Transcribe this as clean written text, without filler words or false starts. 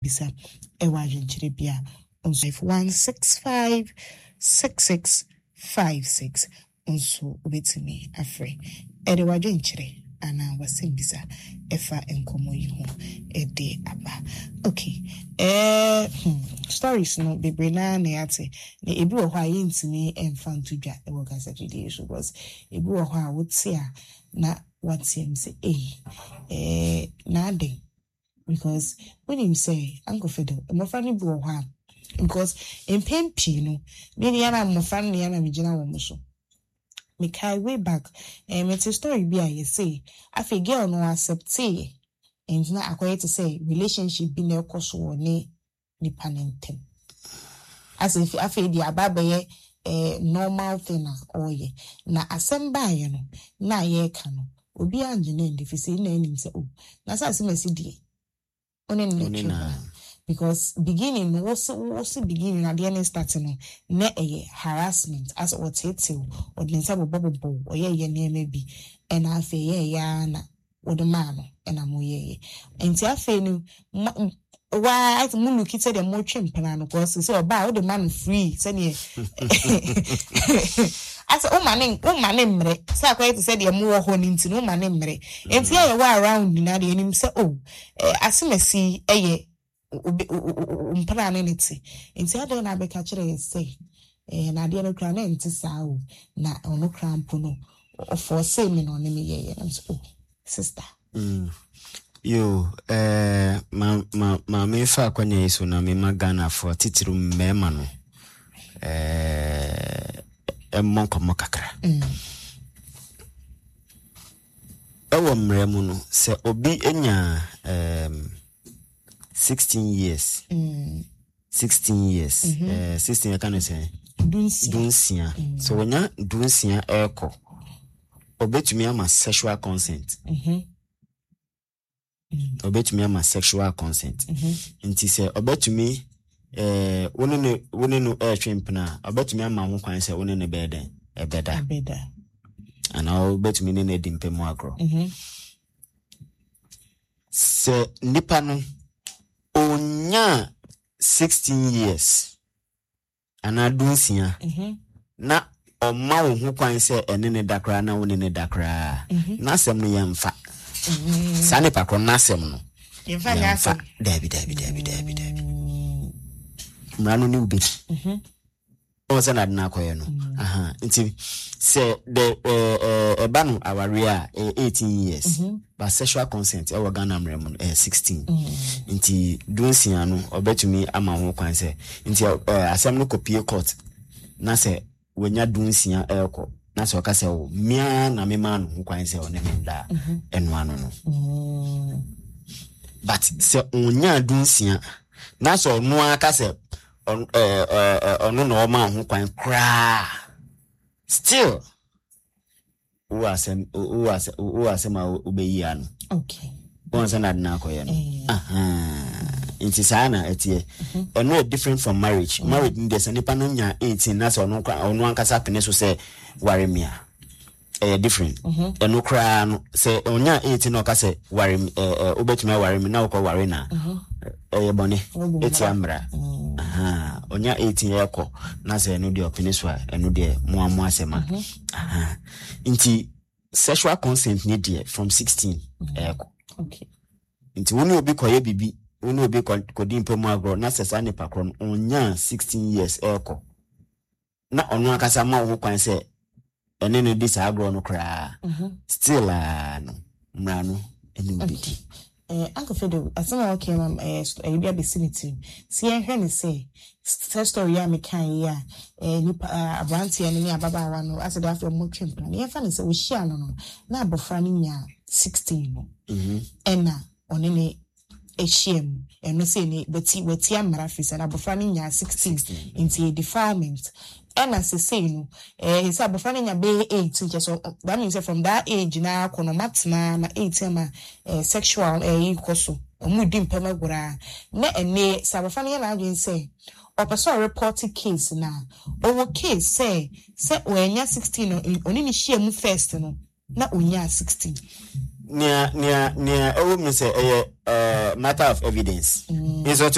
Bisa ɛwɔ adwenkyerɛ bi a nso 165 6656 nso wobɛtumi afrɛ ɛde w'adwenkyerɛ anaa w'asɛmbisa ɛfa nkɔmmɔ yi ho ɛde aba. Ok, eh, stories no bebree naa na yɛate na ebi wɔ hɔ a yɛntumi ɛmfa nto dwa ɛwɔ kasafidie so because ebi wɔ hɔ a wote a na wateam sɛ ei, eh, na adɛn. Because wonim sɛ Uncle Fiddle, mmɔfra no bi wɔ hɔ a, because mpɛn pii no, me nea na mmɔfra no nea na megyina wɔn so. Mekae way back, eh, mete story bi a yɛse afei girl no acceptee, nti na akɔyɛ te sɛ relationship bi na ɛkɔ so wɔ ne nipa no ntam. Asɛ efi afei deɛ aba abɛyɛ eh, normal thing a ɔreyɛ. Na asɛm baeɛ no, na yɛreka no, obiara ngye no ndi, firi sɛ na anim sɛ, oh, na sɛ asɛm asi deɛ, wo ne no na ɛtwe bra. Because beginning no, wose wose beginning adeɛ no start no, na ɛyɛ harassment, asɛ ɔteetew, ɔde ne nsa bobɔbobɔ wo, ɔyɛyɛ nneɛma bi, ɛna afei ɛyɛɛyɛ ara na wode maa no na moyɛeɛ. Nti afei no, mo, waa mo luki sɛdeɛ motwe mpena no, cause sɛ ɔbaa wode ma no free sɛdeɛ asɛ woma ne woma ne mmerɛ sɛ akɔyɛ te sɛ deɛ mowɔ hɔ no nti no woma ne mmerɛ. Nti yɛ yɛwɔ around nyinaa deɛ yɛnim sɛ oh, eh, asemasi yɛ obi mpena ne ne te. Nti adɛn na abɛka kyerɛ yɛ sɛ eh, na adeɛ no koraa na ɛnte saa o, na ɔno koraa mpo no ɔfɔɔsee me na ɔne me yɛeɛ. Na mesɛ oh, sister. Yo, eh, ma, ma, ma memfa akwanya yi so na mema Ghanafoɔ titiriw mmarima no eh, mmɔ nkɔmmɔ kakra. Ɛwɔ mmara mu no, sɛ obi nya um, 16 years, 16 years, eh, 16 yɛka no sɛ dunsia. Sɛ wɔnya dunsia ɛrekɔ, ɔbɛtumi ama sexual consent. Ɔbɛtumi ama sexual consent. Nti sɛ ɔbɛtumi eh, wo ne no wo ne no ɛretwe mpena a, ɔbɛtumi ama ho kwan sɛ wo ne no bɛyɛ dɛn? Ɛbɛda. Ɛbɛda. Anaa wobɛtumi ne no adi mpɛ mu agorɔ. Sɛ nipa no ɔnyaa 16 years anaa dunsia na ɔma wo ho kwan sɛ ɛne ne da koraa na wo ne ne da koraa, n'asɛm no yɛmfa. Saa nipa korɔ n'asɛm no Yɛmfa nyɛ yɛmfa. asɛm. Daabi, daabi, daabi, daabi, daabi. Mmara no ne wo bɛdi. Wɔn sɛ n'ade no akɔyɛ no. Aha. Nti sɛ de ɛba no awareɛ a ɛyɛ 18 years. But sexual consent ɛwɔ Ghana mmara mu no ɛyɛ 16. Nti dunsia no ɔbɛtumi ama ho kwan sɛ nti asɛm no kɔpie court na sɛ wanya dunsia ɛrekɔ na sɛ ɔka sɛ o mmea na memaa no ho kwan sɛ ɔne me nda a, ɛno ano no. But sɛ ɔnyaa dunsia na sɛ ɔno ara ka sɛ ɔno na ɔmaa ho kwan koraa, still wowɔ asɛm wowɔ asɛm wowɔ asɛm a wobɛyi ano. Okay. Wɔn sɛ na ade no akɔyɛ no. Nti saa na ɛteɛ. Ɛno yɛ different from marriage. Marriage no deɛ sɛ nipa no nya 18 na sɛ ɔno ɔno ankasa pene so sɛ ware me a, ɛyɛ different. Ɛno koraa no sɛ ɔnya 18 na ɔka sɛ ware me ɛɛ ɛ wobɛtumi aware me na wokɔ ware na ɛyɛ bɔne ɛtia mmara. Ɔnya 18 ɛkɔ na sɛ ɛno deɛ ɔpene so a ɛno deɛ mo a mo asɛm a. Nti sexual consent ne deɛ from 16 ɛɛkɔ. Okay. Nti wo ne obi kɔyɛ biribi, wo ne obi kɔdi mpa mu agorɔ na sɛ saa nipa korɔ no ɔnyaa 16 years ɛɛkɔ na ɔno ankasa ma wo ho kwan sɛ ɛne no di saa agorɔ no koraa, still a no mmara no ɛne wo bɛdi. Eh, Uncle Fido, asɛm a wɔka ma eh, ɛyi bi abɛsi me tirim. Sɛ yɛnhwɛ ne sɛ, sɛ story a meka yi a, eh, nipa, eh, aberanteɛ no ne ababaawa no, asɛ de afei ɔmo twe mpena no, yɛmfa ne sɛ wɔhyia no no, na abɔfra no nyaa 16 no, ɛna ɔne ne ahyia mu. Ɛno sɛ ne wati watia mmara firi sɛ abɔfra no nyaa 16 nti yɛ defilement. Ɛna sesei no, eh, sɛ abɔfra no nya bɛyɛ 18 kyɛ sɛ that means sɛ from that age na akɔ no ɔmatena ma 18 ama eh, sexual eh, yi kɔ so. Ɔmo di mpɛm agorɔ a. Na ɛnɛ sɛ abɔfra no yɛ n'adwene sɛ ɔpɛ sɛ ɔreport case na ɔwɔ case sɛ sɛ ɔanya 16 no ɔne ne hyia mu first no na ɔnyaa 16. Nea nea nea ɛwɔ mu sɛ ɛyɛ matter of evidence. Nso.